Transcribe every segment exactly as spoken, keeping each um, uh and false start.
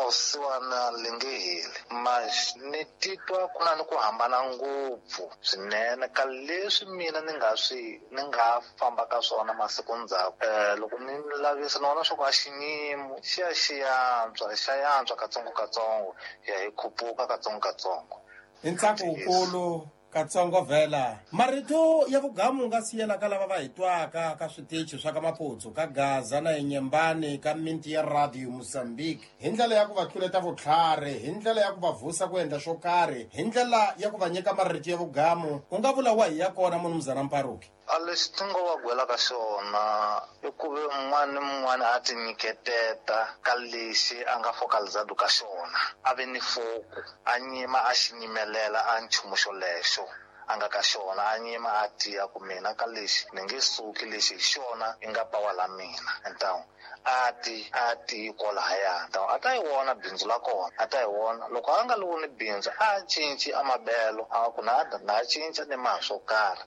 Vusiwana li nge heli mas ni titwa ku na ni ku hambana ngopfu swinene ka leswi mina ni nga swi ni nga famba ka swona masiku ndzhaku. um loko ni lavisa ni vona swa ku a xinyimo xi ya xi yantswa xa yantswa katsongokatsongo ya hi khupuka katsongokatsongo. Hi ntsako wukulu katsongo vhela marito ya vugamu nga siyela ka lava va hi twaka ka switichi swa ka Maputsu ka Gaza na Inyembani ka minti ya Radio Mozambique hi ndlela ya ku va tluleta vutlhari, hi ndlela ya ku va vusa ku endla xo karhi, hi ndlela ya ku va nyika marito ya vugamu, u nga vula wahi ya kona munumzana Mparuki? A lexi ti ngo va gwela ka xona i ku ve un'wana ni mun'wana a ti nyiketeta ka lexi a nga focalizado ka xona, a ve ni foku, a nyima a xi nyimelela a nchumu xolexo a nga ka xona, a nyima a tiya ku mina ka lexi ni nge suki, lexi hi xona i nga pawa la mina. Então a ti a ti kwalahaya, então a ta yi vona bindzu la kona, a ta yi vona loko a nga li voni bindzu a cinci a mabelo, a ku na na cinca ni ma swo karhi.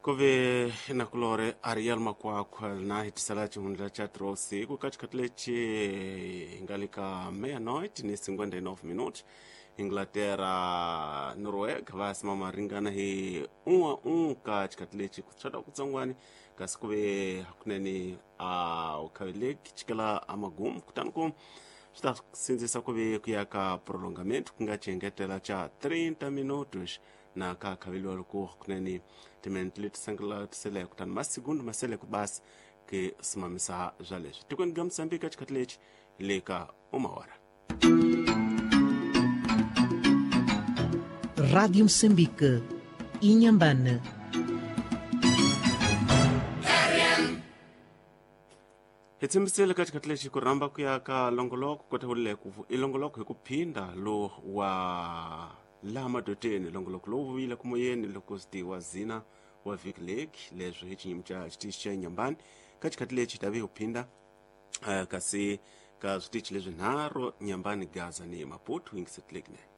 Kuve nakulore Ariel Makwakwa na hitisala chihundla cha trosi ku katikati lechi ingalika meia-noite ni cinquenta e nove minutos. Inglaterra Noruega va simama ringana hi um a um ka chikati lechi kutswata kutsongwani kasi kuve hakunene a ukhaveleki chikela amagumu kutani ku swi ta sindzisa ku ve ku ya ka prolongamento ku nga xiengetela cha trinta minutos na ka khaveliwa loko hakunene timinete leti sangela kutani masigundo masele ku basi ke simamisa bya leswi tikweni ga Mozambique xikhathi lexi le ka uma hora. Rádio Moçambique, Inhambane. Hi tshembisile ka xikhathi lexi ku rhamba ku ya ka longoloko kota ku ku i longoloko hi ku phinda lo wa laha madoteni longoloko lowu vuyile ku moyeni loko swi wa zina wa Vic Lake leswi hi xinyimo xa xitichi xa Inhambane ka xikhathi lexi ta ve hi phinda uh, kasi ka switichi leswi nharhu Inhambane, Gaza ni Maputo yingisetilekine.